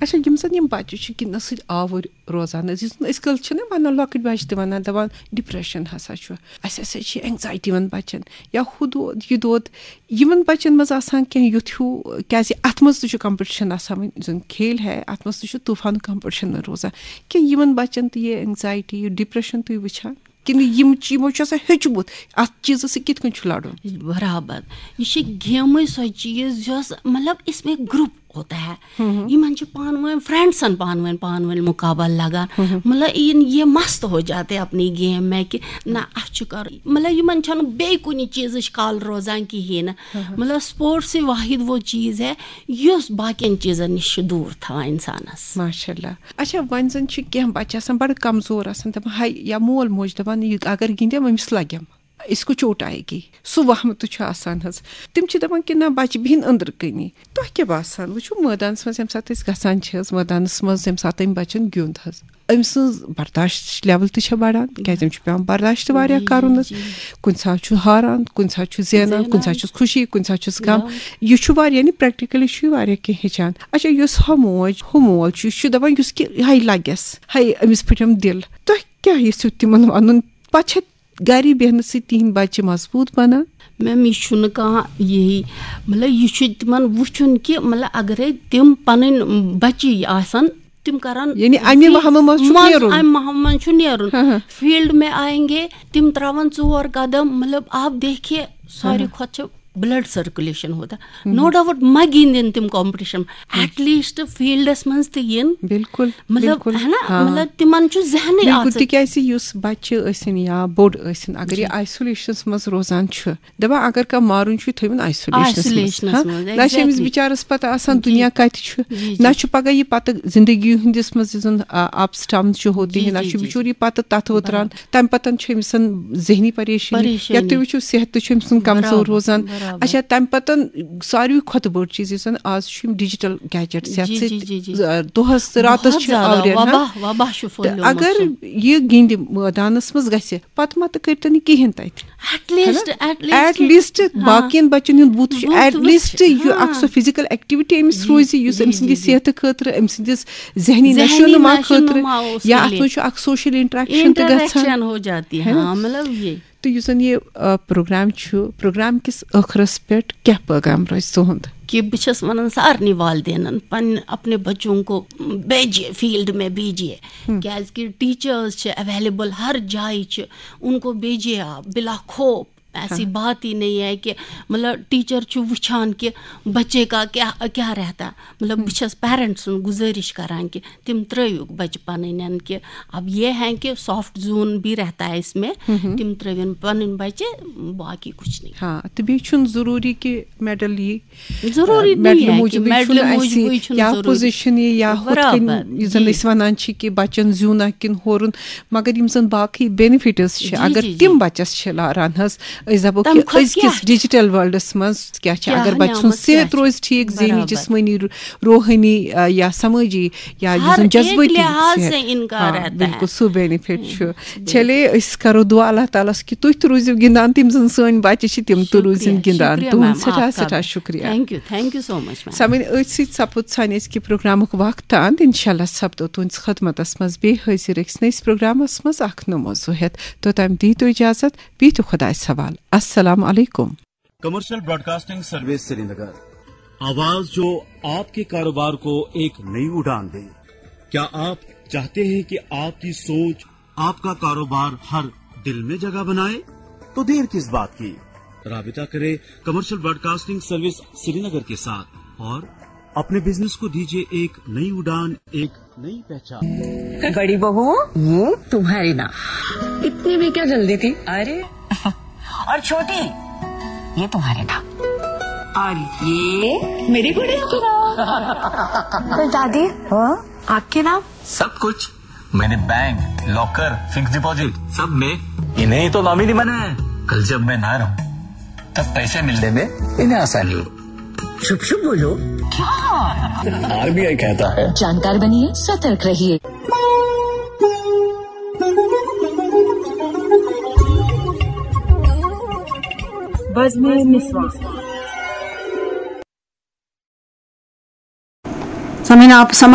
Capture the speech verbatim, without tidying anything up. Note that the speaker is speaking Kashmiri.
اچھا، یِم زَن یِم بَچہٕ چھِ گِنٛدنَس سۭتۍ آوُر روزان حظ، یُس زَن أزۍ کٲلۍ چھِنہ وَنان، لۄکٕٹۍ بَچہٕ تہِ وَنان، دَپان ڈِپریشَن ہسا چھُ، اَسہِ ہسا چھِ اینگزایٹی یِمَن بَچَن، یا ہُہ دود یہِ دود، یِمَن بَچَن منٛز آسان کینٛہہ یُتھ ہیوٗ، کیٛازِ اَتھ منٛز تہِ چھُ کمپِٹیشَن آسان، وۄنۍ زَن کھیل ہے، اَتھ منٛز تہِ چھُ طوٗفان کمپِٹیشَن روزان، کہِ یِمَن بَچَن تہِ یہِ اینگزایٹی، یہِ ڈِپریشَن تُہۍ وٕچھان، کِنہٕ یِم چھِ، یِمو چھُ آسان ہیوٚچھمُت اَتھ چیٖزَس سۭتۍ کِتھ کٔنۍ چھُ لَڑُن؟ برابر۔ یہِ چھِ گیمٕے سۄ چیٖز یۄس، مطلب، اس میں گروپ ہوتا ہے۔ یِمن چھِ پانہٕ ؤنۍ فرینڈسن پانہٕ ؤنۍ، پانہٕ ؤنۍ مُقابل لگان۔ مطلب، یِن یہِ مست ہو جاتے اپنی گیم میں کہ نہ، اَسہِ چھُ کَرُن۔ مطلب، یِمن چھَنہٕ بیٚیہِ کُنہِ چیٖزٕچ کَل روزان کِہیٖنۍ نہٕ۔ مطلب، سپورٹس ہی واحد وہ چیٖز ہے یُس باقین چیٖزن نِش چھُ دوٗر تھاوان اِنسانَس۔ ماشاء اللہ۔ اچھا، وۄنۍ زَن چھِ کینٛہہ بَچہٕ آسان بَڑٕ کمزور آسان، دَپان، ہاے، یا مول موج دَپان، یہِ اگر گِنٛدٮ۪م، أمِس لَگٮ۪م، اس کو چوٹ آئے گی، سُہ وہمہٕ تہِ چھُ آسان حظ۔ تِم چھِ دَپان کہِ نہ، بَچہٕ بِہِن أنٛدرٕ کَنی۔ تۄہہِ کیٛاہ باسان؟ وٕچھِو، مٲدانَس منٛز ییٚمہِ ساتہٕ أسۍ گژھان چھِ حظ، مٲدانَس منٛز ییٚمہِ ساتہٕ أمۍ بَچَن گیُنٛد حظ، أمۍ سٕنٛز برداشت لیول تہِ چھےٚ بَڑان، کیٛازِ أمِس چھُ پٮ۪وان برداشت تہِ واریاہ کَرُن حظ۔ کُنہِ ساتہٕ چھُ ہاران، کُنہِ ساتہٕ چھُ زینان، کُنہِ ساتہٕ چھُس خوشی، کُنہِ ساتہٕ چھُس غم۔ یہِ چھُ واریاہ، یعنی پریکٹیکلی چھُ یہِ واریاہ کینٛہہ ہیٚچھان۔ اچھا، یُس ہۄ موج، ہُہ مول چھُ، یہِ چھُ دَپان، یُس کہِ ہاے لَگٮ۪س، ہاے، أمِس پھٕٹٮ۪م دِل۔ تۄہہِ کیٛاہ یژھِو تِمَن وَنُن؟ پَتہٕ چھےٚ گَرِ بیٚہنہٕ سۭتۍ تِہِنٛدۍ بَچہِ مضبوٗط بَنان۔ میم، یہِ چھُنہٕ کانٛہہ یِہی، مطلب، یہِ چھُ تِمَن وٕچھُن کہِ، مطلب، اگرے تِم پَنٕنۍ بَچی آسَن، تِم کَرَن یعنی اَمہِ فی-، وَہمہٕ منٛز چھُکھ منٛز، نیرُن۔ اَمہِ وَہمہٕ منٛز چھُ نیرُن۔ ہاں، ہاں۔ فیٖلڈ میں آئیں گے، تِم ترٛاوَن ژور قدم، مطلب، آپ دیکھیے، ساروی ہاں۔ کھۄتہٕ چھِ بلڈ سرکولیشن ہوتا۔ نو ڈاؤٹ، مہ گِنٛدِن تِم کمپٹیشن، ایٹ لیسٹ فیلڈس منٛز تہِ یِن۔ بالکل، مطلب، بالکل۔ ہے نا؟ ہاں۔ مطلب، تِمن چھُ ذہنٕے بالکل، آسان۔ تِکیٛازِ یُس بچہِ ٲسِن یا بوٚڑ ٲسِن، اگر یہِ جی۔ آیسولیشنس منٛز روزان چھُ، دَپان، اگر کانٛہہ مارُن چھُ، یہِ تھٲوِن آیسولیشنس منٛز۔ آیسولیشنس ہاں؟ منٛز، نہ چھِ أمِس exactly۔ بِچارس پتہ آسان جی۔ دُنیا کتہِ چھُ، جی، جی۔ نہ چھُ پگاہ یہِ پتہٕ زندگی ہٕنٛدِس منٛز یُس زن، آ، اپس ڈاونس چھُ ہوتے جی، ہیں، نہ جی، چھُ جی، بِچور جی۔ یہِ پتہٕ تتھ وتران۔ برابر۔ تمہِ پتہٕ چھُ أمِس ذہنی پریشٲنی۔ پریشٲنی۔ یا تُہۍ وٕچھِو، صحت تہِ چھُ أمۍ سُنٛد کمزور برابر، روزان۔ برابر۔ اچھا، تمہِ پتہٕ ساروی کھۄتہٕ بٔڑ چیٖز، یُس زن آز چھُ یِم ڈیجیٹل گیجٹس، یتھ جی، جی، سۭتۍ، جی، جی۔ آ، دۄہس تہٕ راتس بہت چھِ زیادٕ آوریر، ہاں؟ وبا، وبا چھُ تہٕ پھٔہلیومُت اگر سُہ۔ یہِ گِنٛدِ مٲدانس منٛز گژھِ، پتہٕ ما تہٕ کٔرۍتن یہِ کِہیٖنۍ تتہِ۔ ایٹ لیسٹ، ہے نا؟ At least. ایٹ لیسٹ ہاں۔ باقین بچن ہُنٛد بُتھ چھُ، بُتھ ایٹ وٕچھ، لیسٹ یہِ ہاں۔ اکھ سۄ فزیکل ایکٹیویٹی أمِس جی، روزِ، یُس جی، أمۍ سٕنٛدِ جی، جی۔ صحتہٕ خٲطرٕ، أمۍ سٕنٛدِس ذہنی ذہنی نشو نما نشو خٲطرٕ، نما اوس یا اتھ مِلے۔ منٛز چھُ اکھ سوشل انٹریکشن تہِ گژھان۔ انٹریکشن ہو جاتی، ہے نا؟ ہاں، مطلب یہِ۔ تہٕ یُس زن یہِ، آ، پروگرام چھُ، پروگرام کِس ٲخرس پٮ۪ٹھ کیٛاہ پٲغام روزِ تُہُنٛد؟ کہ بہٕ چھَس وَنان سارنٕے والدینن، پنٕنۍ اپنے بچوں کو بیجیے، فیلڈ میں بیجیے۔ کیٛازِ کہِ ٹیچرز چھِ اویلیبل، ہر جایہِ چھِ، ان کو بیجیے آپ بلا خوف۔ ایسی ہاں۔ بات ہی نہیں ہے کہ، مطلب، ٹیچر چھُ وٕچھان کہ بچے کا کیا، کیا رہتا۔ مطلب، بہٕ چھَس پیرنٹس سُنٛد گُزٲرِش کران کہ تِم ترٲیوُکھ بچہِ پنٕنٮ۪ن کہ اب یہ ہے کہ سافٹ زون بھی رہتا ہے اس میں، تِم ترٲوِن پنٕنۍ بچہِ، باقی کچھ نہیں۔ ہاں، تہٕ بیٚیہِ چھُنہٕ ضروٗری کہ میڈل یی، ضروٗری آ، میڈلہٕ نہیں ہے کہ موٗجوٗبٕے میڈلہٕ چھُنہٕ موٗجوٗبٕے اَسہِ چھُنہٕ یا ضروٗری۔ پوزیشن یی یا ہُتھ کٔنۍ برابر، یُس زن جی۔ أسۍ ونان چھِ کہ بچن زیوٗن اکھ کِنہٕ ہورُن، مگر یِم زن باقٕے بینیفٹس چھِ، جی، اگر جی، تِم جی۔ بچس چھِ لاران حظ، أسۍ دپو تَمہِ کہ کھۄتہٕ أزکِس کیٛاہ؟ ڈیجیٹل ورلڈس منٛز کیٛاہ چھِ، کیٛاہ اگر بچہِ سُنٛد نعمت کیٛاہ صحت چھِ؟ روزِ ٹھیٖک، ذہنی، برابر۔ جسمٲنی، رو-، روحٲنی، آ، یا سمٲجی، یا یُس ہر زن ایک جذبٲتی لحاظ صحت۔ سے ان کا ہاں، رہتا ہے۔ بالکل، سُہ بینیفٹ چھُ۔ بالکل۔ چلے، أسۍ کرو دعا اللہ تعالیٰ ہس کہِ تُہۍ تہِ روٗزِو گِنٛدان، تِم زن سٲنۍ بچہِ چھِ، تِم تہِ شُکریہ، روٗزِن گِنٛدان۔ شُکریہ تُہُنٛد میم، سٮ۪ٹھاہ، آپ سٮ۪ٹھاہ کا۔ شُکریہ۔ Thank you, thank you so much, ma'am. سامعین، أتھۍ سۭتۍ سپُد سانہِ أزکہِ پروگرامُک وقت تہٕ اند۔ انشاءاللہ سپدو تُہنٛدِس خدمتس منٛز بیٚیہِ حٲضِر أکِس نٔیِس پروگرامس منٛز اکھ نوٚو موضوع ہٮ۪تھ۔ توٚتام دِیِو تُہۍ اجازت، بِہِو خۄدایس حوالہٕ۔ السلام علیکم۔ Commercial broadcasting service Srinagar. آواز جو آپ کے کاروبار کو ایک نئی اڑان دے۔ کیا آپ چاہتے ہیں کہ آپ کی سوچ، آپ کا کاروبار ہر دل میں جگہ بنائے؟ تو دیر کس بات کی؟ رابطہ کریں کمرشل براڈکاسٹنگ سروس سرینگر کے ساتھ اور اپنے بزنس کو دیجیے ایک نئی اڑان، ایک نئی پہچان۔ बड़ी बहू, ये तुम्हारे नाम। इतनी भी क्या जल्दी थी? अरे, और छोटी, ये तुम्हारे नाम। और ये मेरी गुड़िया के नाम। पर दादी, हाँ? आपके नाम? सब कुछ। मैंने बैंक, लॉकर, फिक्स डिपॉजिट, सब में इन्हें ही तो नॉमिनी बनाया है। कल जब मैं ना रहूं, तब पैसे मिलने में इन्हें आसानी हो। शुभ शुभ बोलो। क्या? आरबीआई कहता है। जानकार बनिए, सतर्क रहिए। بزمِ نسواں۔ سامعین، آپ سماعت